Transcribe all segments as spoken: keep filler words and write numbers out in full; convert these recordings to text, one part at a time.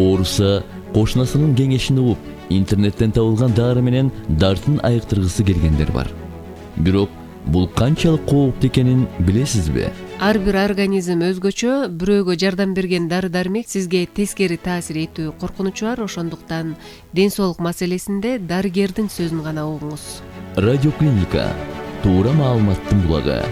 ооруса кошунасынын кеңешин угуп, интернеттен табылган дары менен дартын айыктыргысы келгендер бар. Бирок бул канчалык кооптуу экенин билесизби? Ар бир организм өзгөчө, бирөөгө жардам берген дары-дармек сизге тескери таасир этүү коркунучу бар, ошондуктан ден соолук маселесинде дарыгердин сөзүн гана угуңуз. Радиоклиника туура маалыматтын булагы.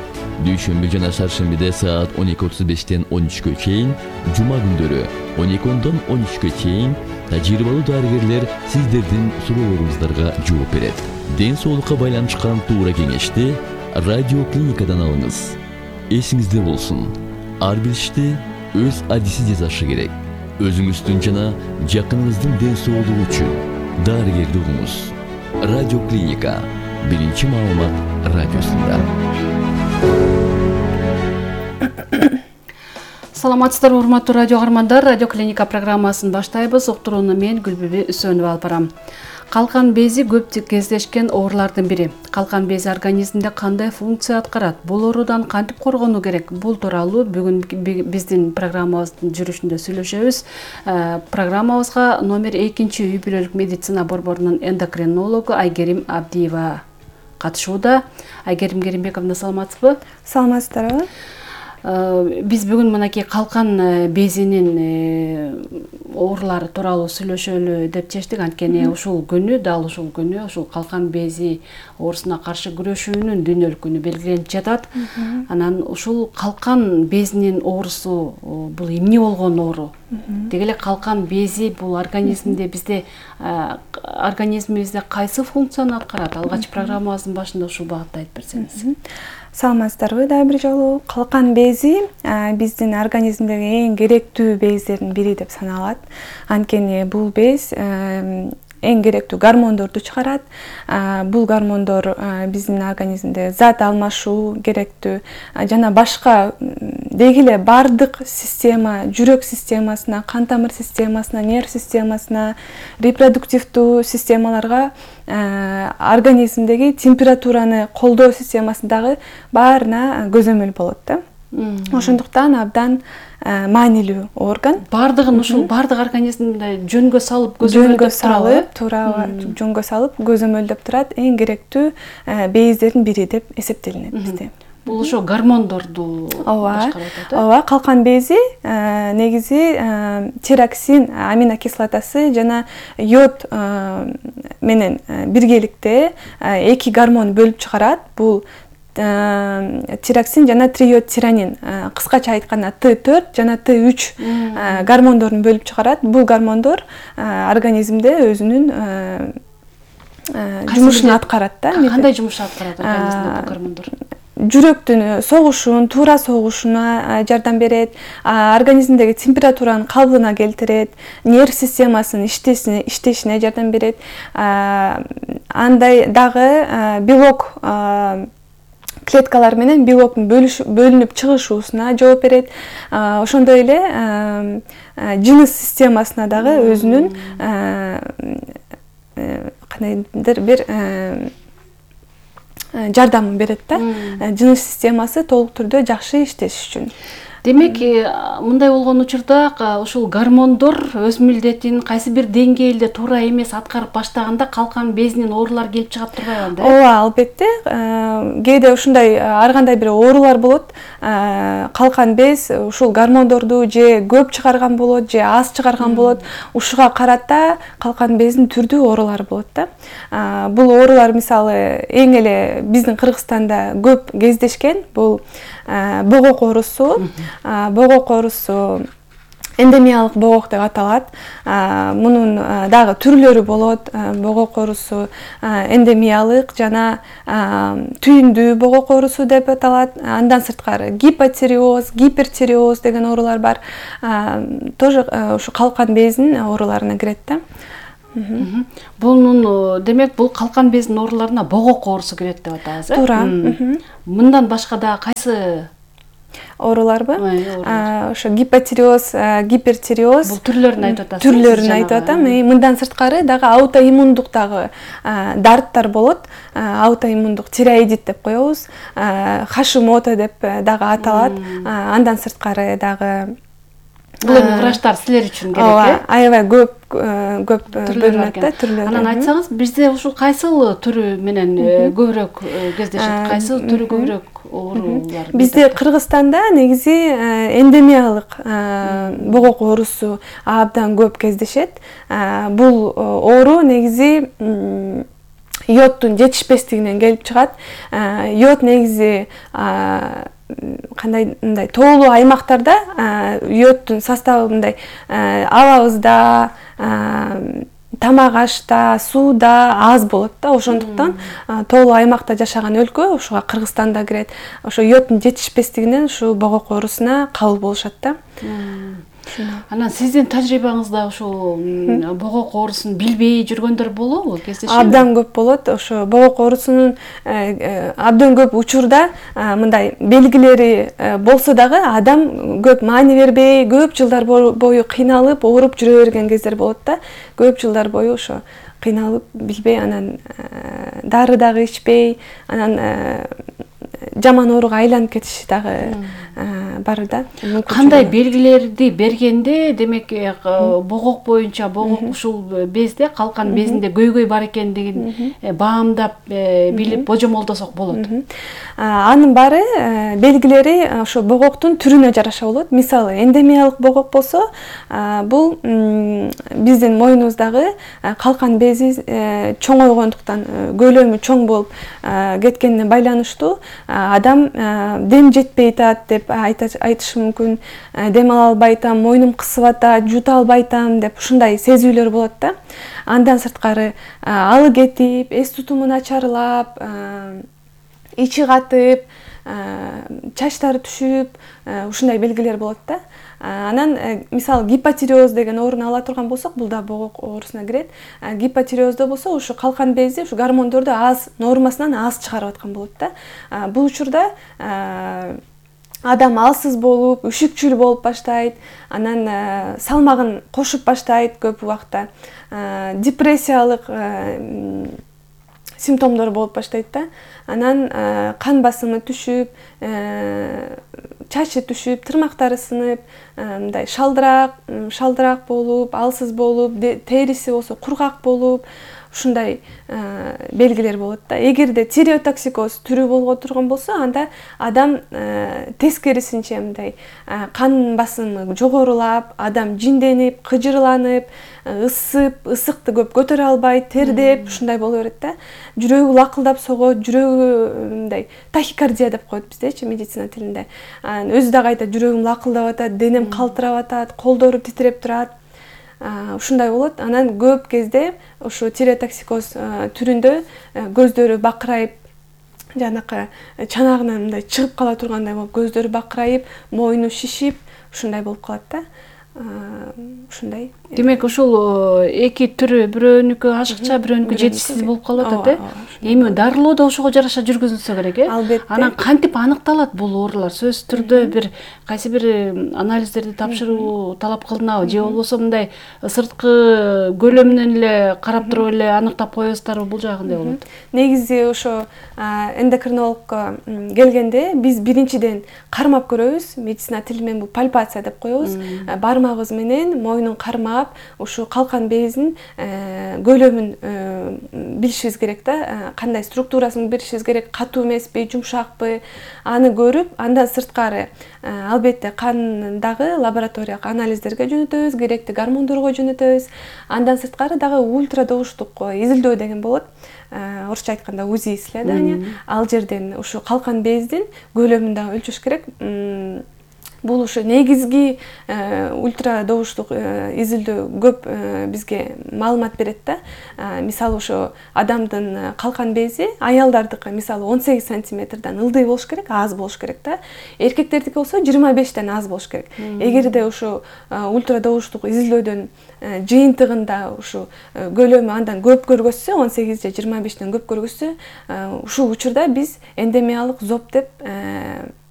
Дүйшөмбү жана шаршембиде саат он эки отуз бештен он үчкө чейин, жума күндөрү он эки ондон он үчкө чейин тажрыйбалуу дарыгерлер сиздердин суроолоруңуздарга жооп берет. Ден соолукка байланышкан туура кеңешти радиоклиникадан алыңыз. Эсиңизде болсун, ар бир ишти өз адиси жасашы керек. Өзүңүздүн жана жакыныңыздын ден соолугу үчүн дарыгерди угуңуз. Радиоклиника биринчи маалымат радиосунда. Саламатсыздарбы, урматтуу радио каармандар. Радиоклиника программасын баштайбыз. Уктурууну мен Гүлбүбү Үсөнова алып барам. Калкан бези көп кездешкен оорулардын бири. Калкан бези организмде кандай функция аткарат? Бул оорудан кантип коргонуу керек? Бул тууралуу бүгүн биздин программабыздын жүрүшүндө сүйлөшөбүз. Программабызга номер экинчи үй бүлөлүк медицина борборунун эндокринологу Айгерим Абдиева катышууда. Айгерим Керимбековна, саламатсызбы? Саламатсыздарбы? Биз бүгүн мынакей калкан безинин оорулары тууралуу сүйлөшөлү деп чечтик. Анткени ушул күнү, дал ушул күнү ушул калкан бези оорусуна каршы күрөшүүнүн дүйнөлүк күнү белгиленип жатат. Анан ушул калкан безинин оорусу бул эмне болгон оору? Деги эле калкан бези бул организмде бизде организмибизде кайсы функцияны аткарат? Алгач программабыздын башында ушул багытта айтып берсеңиз. Саламатсыздарбы? Дагы бир жолу калкан бези биздин организмдеги эң керектүү бездердин бири деп саналат. Анткени бул без эң керектүү гормондорду чыгарат. Бул гормондор биздин организмде зат алмашуу керектүү жана башка деги эле бардык система, жүрөк системасына, кан тамыр системасына, нерв системасына, репродуктивдүү системаларга, организмдеги температураны колдоо системасындагы баарына көзөмөл болот да. Ошондуктан абдан маанилүү орган. Бардыгын ушул бардык организмде жөнгө салып көзөмөлдөп салып, туура жөнгө салып көзөмөлдөп турат, эң керектүү бездердин бири деп эсептелинет бизде. Бул ошо гормондорду башкарат. Ооба, калкан бези негизи тироксин аминокислотасы жана йод менен биргеликте эки гормон бөлүп чыгарат. Бул тироксин жана триодтиранин, кыскача айтканда Т төрт жана Т үч гормондорун бөлүп чыгарат. Бул гормондор организмде өзүнүн жумушун аткарат да. Кандай жумуш аткарат организмде бул гормондор? Жүрөктүн согушун, туура согушуна жардам берет, организмдеги температуранын калыбына келтирет, нерв системасынын иштешине жардам берет. Андай дагы белок клеткалар менен белоктун бөлүнүп чыгышуусуна жооп берет. Ошондой эле жыныс системасына дагы өзүнүн кандайдыр бир жардамын берет да. Жыныс системасы толук түрдө жакшы иштеш үчүн. Демек, мындай болгон учурда ушул гормондор өз милдетин кайсы бир деңгээлде туура эмес аткарып баштаганда калкан безинин оорулары келип чыгат турбайбы да? Ооба, албетте. Кээде ушундай ар кандай бир оорулар болот. Калкан без ушул гормондорду же көп чыгарган болот, же аз чыгарган болот. Ушуга карата калкан безинин түрдүү оорулары болот да. Бул оорулар мисалы эң эле биздин Кыргызстанда көп кездешкен. Бул богок оорусу. Богок оорусу эндемиялык богок деп аталат. Мунун дагы түрлөрү болот. Богок оорусу эндемиялык жана түйүндүү богок оорусу деп аталат. Андан сырткары гипотиреоз, гипертиреоз деген оорулар бар. Тоже ушу калкан безинин ооруларына кирет да. Бунун демек бул калкан безинин ооруларына богок оорусу кирет деп атабыз, э? Туура. Мындан башка да кайсы ооруларбы? Ошо гипотиреоз, гипертиреоз. Бул түрлөрүн айтып атасыз. Түрлөрүн айтып атам. Мындан сырткары дагы аутоиммундук дагы дарттар болот. Аутоиммундук тиреоидит деп коебуз. Хашимото деп дагы аталат. Андан сырткары дагы Бул эми врачтар силер үчүн керек, ооба, э? аябай көп көп бөлүнөт да, түрлөрү. Анан айтсаңыз, бизде ушул кайсыл түрү менен көбүрөөк кездешет, кайсыл түрү көбүрөөк оорулар? Бизде Кыргызстанда негизи эндемиялык богок оорусу абдан көп кездешет. Бул оору негизи йодтун жетишпестигинен келип чыгат. Йод негизи кандай мындай тоолуу аймактарда йодтун составы мындай абабызда, тамак ашта, сууда аз болот да. Ошондуктан тоолуу аймакта жашаган өлкө ушуга Кыргызстан да кирет. Ошо йодтун жетишпестигинен ушу богок оорусуна кабыл болушат да. Анан сиздин тажрыйбаңызда ушул богок оорусун билбей жүргөндөр болобу? Кездешеби? Абдан көп болот. Ошо богок оорусунун абдан көп учурда мындай белгилери болсо дагы адам көп маани бербей, көп жылдар бою кыйналып, ооруп жүрө берген кездер болот да. Көп жылдар бою ошо кыйналып, билбей, анан дары дагы ичпей, анан жаман ооруга айланып кетиши дагы бар да. Кандай белгилерди бергенде, демек богок боюнча, богок ушул безде, калкан безинде көйгөй бар экендигин баамдап билип божомолдосок болот? Анын баары белгилери ошо богоктун түрүнө жараша болот. Мисалы, эндемиялык богок болсо, бул биздин мойнубуздагы калкан бези чоңойгондуктан, көлөмү чоң болуп кеткенине байланыштуу адам дем жетпей атат деп айтышы мүмкүн. Дем ала албай атам, мойнум кысып атат, жута албай атам деп ушундай сезүүлөр болот да. Андан сырткары алы кетип, эс тутуму начарлап, ичи катып, чачтары түшүп, ушундай белгилер болот да. Анан мисалы гипотиреоз деген ооруну ала турган болсок, бул да богок оорусуна кирет. Гипотиреоздо болсо ушу калкан бези ушу гормондорду аз, нормасынан аз чыгарып аткан болот да. Бул учурда адам алсыз болуп, үшүкчүл болуп баштайт, анан салмагын кошуп баштайт көп убакта. Депрессиялык симптомдор болуп баштайт да. Анан кан басымы түшүп, чачы түшүп, тырмактары сынып, мындай шалдыраак, шалдыраак болуп, алсыз болуп, териси болсо кургак болуп, ушундай белгилер болот да. Эгерде тиреотоксикоз түрү болго турган болсо, анда адам тескерисинче мындай кан басымы жогорулап, адам жинденип, кыжырланып, ысып, ысыкты көп көтөрө албай, тердеп, ушундай боло берет да. Жүрөгү лакылдап согот, жүрөгү мындай тахикардия деп коет биздечи медицина тилинде. Өзү дагы айтат, жүрөгүм лакылдап атат, денем калтырап атат, колдору титиреп турат. Ушундай болот. Анан көп кезде ушу тиреотоксикоз түрүндө көздөрү бакырайып, жанакы чанагынан мындай чыгып кала тургандай болуп, көздөрү бакырайып, мойну шишип, ушундай болуп калат да. Ушундай. Демек ушул эки түрү, бирөөнүкү ашыкча, бирөөнүкү жетишсиз болуп калып атат, э? Эми дарылоо да ошого жараша жүргүзүлсө керек, э? Албетте. Анан кантип аныкталат бул оорулар? Сөзсүз түрдө бир кайсы бир анализдерди тапшыруу талап кылынабы, же болбосо мындай сырткы көлөмүнөн эле карап туруп эле аныктап коесуздарбы, бул жагы кандай болот? Негизи ошо эндокринологко келгенде биз биринчиден кармап көрөбүз. Медицина тили менен бул пальпация деп коебуз. Бармагыбыз менен мойнун кармап, ушу калкан безин көлөмүн билишибиз керек да, кандай структурасын билишибиз керек, катуу эмеспи, жумшакпы, аны көрүп, андан сырткары албетте кандагы лабораториялык анализдерге жөнөтөбүз, керектүү гормондорго жөнөтөбүз. Андан сырткары дагы ультрадоуштук изилдөө деген болот. Орусча айтканда УЗИ исследование. Ал жерден ушу калкан бездин көлөмүн дагы өлчөш керек. Бул ушу негизги ультрадоуштук изилдөө көп бизге маалымат берет да. Мисалы ушу адамдын калкан бези аялдардыкы мисалы он сегиз сантиметрден ылдый болуш керек, аз болуш керек да. Эркектердики болсо жыйырма бештен аз болуш керек. Эгерде ушу ультрадоуштук изилдөөдөн жыйынтыгында ушу көлөмү андан көп көргөзсө, он сегиз же жыйырма бештен көп көргөзсө, ушул учурда биз эндемиялык зоб деп